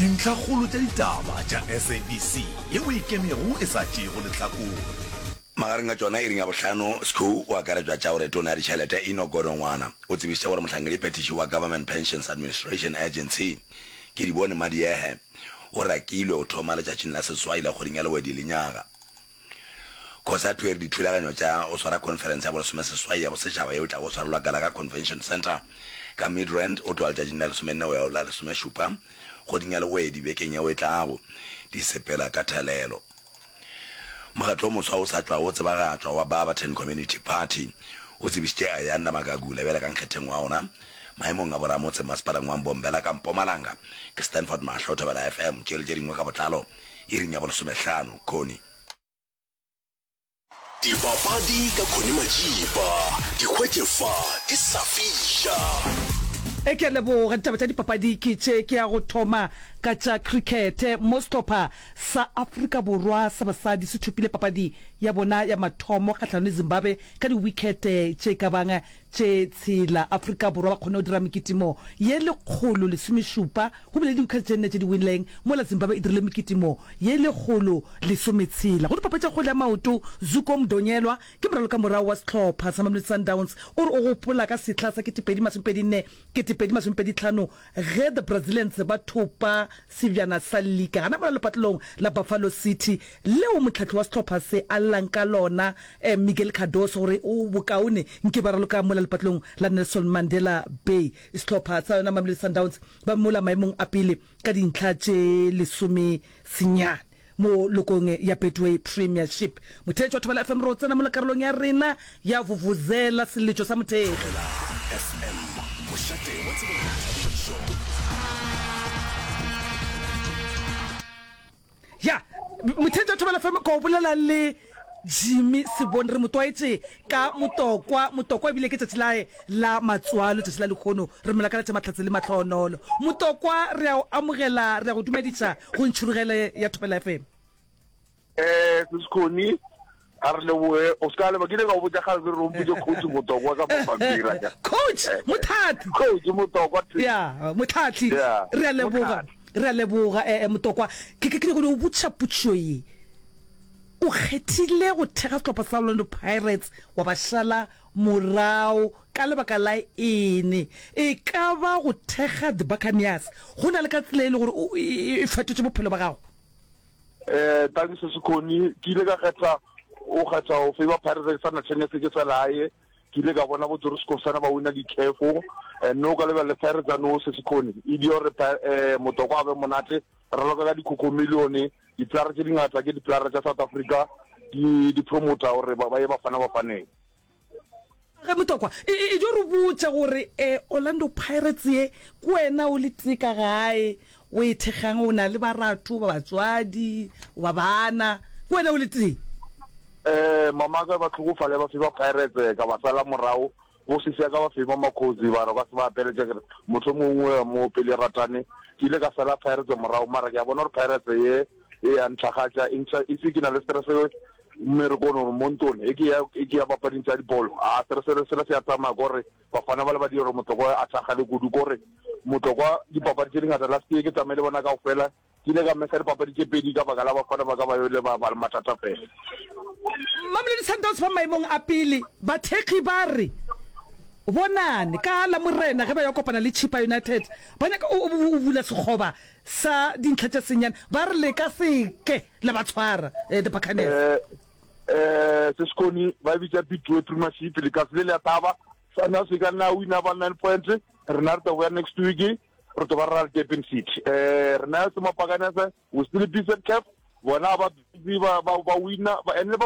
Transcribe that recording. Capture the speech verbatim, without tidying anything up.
Dintlhakgolo tša ditaba tša S A B C yeo e ikemego e sa tšeego lehlakore. Magareng a tšona iring ya bohlano, Sco o akaretšwa tša gore Tona ya Ditšhelete Enoch Godongwana o tsebišitše gore mohlankediphethiši wa Government Pensions Administration Agency, Kedibone Madiehe, o rakilwe go thoma letšatšing la seswai la kgweding ya Lewedi lenyaga. Cosatu e re dithulaganyo tša go swara khonferense ya bolesomeseswai ya bosetšhaba yeo e tlago go swarelwa Gallagher Convention Centre ka Midrand go tloga letšatšing la lesomenne go ya go la lesomešupa kgweding ya Lewedi bekeng yeo e tlago di sepela ka thelelo. Mokgatlo o moswa o sa tšwago go tsebagatšwa wa Barberton Community Party o tsebišitše Ayanda Magagula bjale ka nkgetheng wa ona maemong a boramotse masepaleng wa Mbombela ka Mpumalanga. Ke Stanford Mahlo, Thobela F M, tše le tše dingwe ka botlalo iring ya bolesomehlano. Connie. Dipapadi ka Connie Majiba, di hwetše fa di sa fiša. E ke a leboga. Ditaba tša dipapadi ke tše. Ke ya go thoma ka tša krikete mo sehlopha sa Afrika Borwa sa basadi se thopile papadi ya bona ya mathomo kgahlanong le Zimbabwe ka diwikete tše ka bang tše tshela. Afrika Borwa ba kgonne go dira mekitimo ye lekgolo lesomešupa go bile le diwikete tše nne tše di winleng, mola Zimbabwe e dirile mekitimo ye lekgolo lesometshela. Go dipapadi tša kgwele ya maoto, Zuko Mdonyelwa ke moralokamorago wa sehlopha sa Mamelodi Sundowns o re o gopola ka sehla sa ketepedi masomepedi nne ketepedi masomepedi tlhano ge The Brazilians ba thopa sebjana sa lika gana mola lepatlelong la Buffalo City leo mohlahli wa sehlopha se a llang ka lona Miguel Cardoso gore o bokaone nke ba raloka mola lepatlelong la Nelson Mandela Bay. Sehlopha sa yona Mamelodi Sundowns ba mola maemong a pele ka dintlha tše lesome senyane mo lokong ya Betway Premiership. Motheetši wa Thobela F M re o tsena mola karolong ya rena ya Vuvuzela, seletšo sa mothekgi. Thobela F M, mošate wa tsebo le boithabišo. Ya, motheetši wa Thobela F M, ka o bolela le Jimmy Sebone, re mo tlwaetše ka Motokwa. Motokwa ebile ke tšatši lae la matswalo, tšatši la lehono. Re mo lakaletša mahlatse le mahlohonolo. Motokwa, re a o amogela, re a go dumediša go ntšhurugele ya Thobela F M. Eh, Sis Connie, a re leboge. O se ka leba, ke ile ka go botša kgale ke re o mpotše Coach Motokwa ka mapampiri a ka. Coach Motlhatli. Coach Motokwa. Ya, Motlhatli. Ya, Re a leboga. Motlhatli. Re a leboga, eh, eh, Motokwa. Ke, ke, ke nyaka go no botšiša potšišo ye. O kgethile go thekga sehlopha sa Orlando Pirates wa ba šala morago ka lebaka la eng? E ka ba go thekga The Buccaneers go na le ka tsela e le gore o, e, e fetotše bophelo ba gago? Eh, thanks Sekhoni. Ke ile ka kgetha o kgetha go favor Pirates ke sa na chance ke sa lae. Ke ile ka bona bo Joris Kosana ba wina di-C A F. Eh, no ka lebella Pirates a no se Sekhoni. E di hore eh Motokwa a be monate. Re raloka ka dikhokho million. Diplayera tše dingata ke diplayera tša South Africa di di promoter gore ba ba ye Bafana Bafaneng. Ge Motokwa, e, e, e jo re botša gore eh, Orlando Pirates ye ke wena o le tee ka gae o e thekgang, o na le baratho ba batswadi ba bana, ke wena o le tee? Eh, mama ka ba tlhokofale ba favor Pirates ka ba sala morago, bo sisi ya ka ba favor Makhosi ba re ba se ba apeletša ke re motho mongwe mo pele ratane. Ke ile ka sala Pirates morago, mara ke a bona gore Pirates ye e ya ntlhagatša e ntšha e se ke na le stress mmerekong gore mo ntlong e ke ya e ke ya papading tša dibolo, a stress sela se ya tsamaya kore bafana ba le ba dira gore Motlokwa a thakgale kudu, kore Motlokwa dipapadi tše dingata last year ke tsamaile bona kaofela, ke ile ka mesa dipapadi tše pedi ka baka la bafana ba ka ba yole ba ba le mathata fela. Mamelodi Sundowns ba maemong a pele, bathekgi ba re bonane ka Lamorena ge ba yo kopana le Chippa United, ba nyaka o o bula sekgoba sa dintlha tše senyane, ba re le ka se ke la ba tshwara eh, the Buccaneers. Eh eh Sesikoni ba e bitša Betway Premiership, lekase le le a thaba Sundowns e ka nna wina ba nine points, rena re tlo boya next week re tlo ba re ra le Durban City. Eh rena se Mapakanese we still busy at C A F, bona ba busy ba ba ba wina ba and ba